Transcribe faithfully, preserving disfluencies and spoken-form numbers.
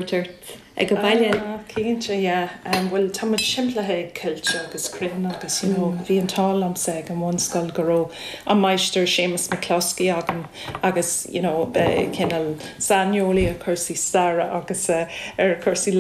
ort ag an baile. Cinnte bhfuil tá timpeallaithe ag coillte agus crainn agus you know, bhí an t-ádh liomsa ag an mbunscoil go raibh an máistir Séamus McCloskey agam agus you know, cineál saineolaí ar chúrsaí staire agus uh, ar chúrsaí